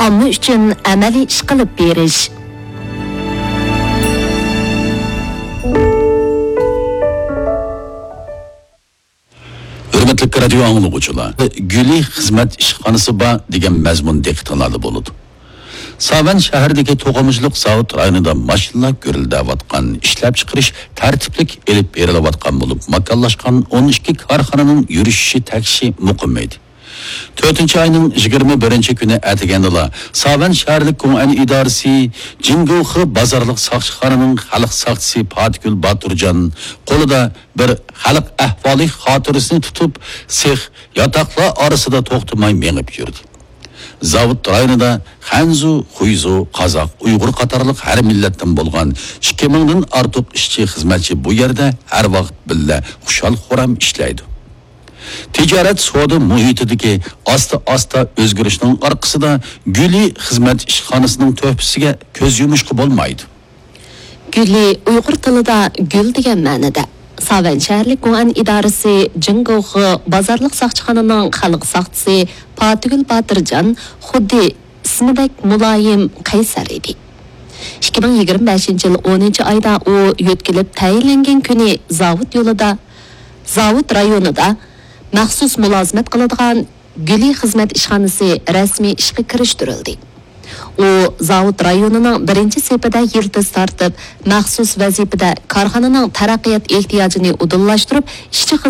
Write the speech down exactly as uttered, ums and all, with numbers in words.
ئامما ئۈچۈن ئەمەلىي ئىش قىلىپ بېرىش. ھۆرمەتلىك رادىيو ئاڭلىغۇچىلار، گۈلى خىزمەت ئىشخانىسى بار دېگەن مەزمۇن دىققىتىڭلاردا بولىدۇ. ساۋەن شەھىرىدىكى توقۇمىچىلىق زاۋۇت رايونىدا ماشىنىلار گۈرۈلدەۋاتقان، ئىشلەپچىقىرىش تەرتىپلىك ئېلىپ بېرىلىۋاتقان بولۇپ، ماكانلاشقان ئون ئىككى كارخانىنىڭ يۈرۈشۈشى تەكشى مۇقىم ئىدى. تۆتىنچى ئاينىڭ يىگىرمە بىرىنچى كۈنى ئەتىگەندىلا ساۋەن شەھەرلىك گوڭئەن ئىدارىسى جىڭگوخې بازارلىق ساقچىخانىنىڭ خەلق ساقچىسى پاتىگۈل باتۇرجان قولىدا بىر خەلق ئەھۋالى خاتىرىسىنى تۇتۇپ، سېخ، ياتاقلار ئارىسىدا توختىماي مېڭىپ يۈردى. زاۋۇت رايونىدا خەنزۇ، خۇيزۇ، قازاق، ئۇيغۇر قاتارلىق ھەر مىللەتتىن بولغان ئىككى مىڭدىن ئارتۇق ئىشچى، خىزمەتچى بۇ يەردە ھەر ۋاقىت بىللە خۇشال-خۇرام ئىشلەيدۇ. تىجارەت سودا مۇھىتىدىكى ئاستا-ئاستا ئۆزگىرىشنىڭ ئارقىسىدا گۈلى خىزمەت ئىشخانىسىنىڭ تۆھپىسىگە كۆز يۇمۇشقا بولمايدۇ. گۈلى ئۇيغۇر تىلىدا گۈل دېگەن مەنىدە. ساۋەن شەھەرلىك گوئەن ئىدارىسى جىڭگوخې بازارلىق ساقچىخانىنىڭ خەلق ساقچىسى پاتىگۈل باتۇرجان خۇددى ئىسمىدەك مۇلايىم، قەيسەر ئىدى. ئىككى مىڭ يىگىرمە بەشىنچى يىل ئونىنچى ئايدا ئۇ يۆتكىلىپ تەيىنلەنگەن كۈنى زاۋۇت يولىدا، زاۋۇت رايونىدا مەخسۇس مۇلازىمەت قىلىدىغان گۈلى خىزمەت ئىشخانىسى رەسمىي ئىشقا كىرىشتۈرۈلدى. ئۇ زاۋۇت رايونىنىڭ بىرىنچى سېپىدە يىلتىز تارتىپ، مەخسۇس ۋەزىپىدە كارخانىنىڭ تەرەققىيات ئېھتىياجىنى ئۇدۇللاشتۇرۇپ، ئىشچى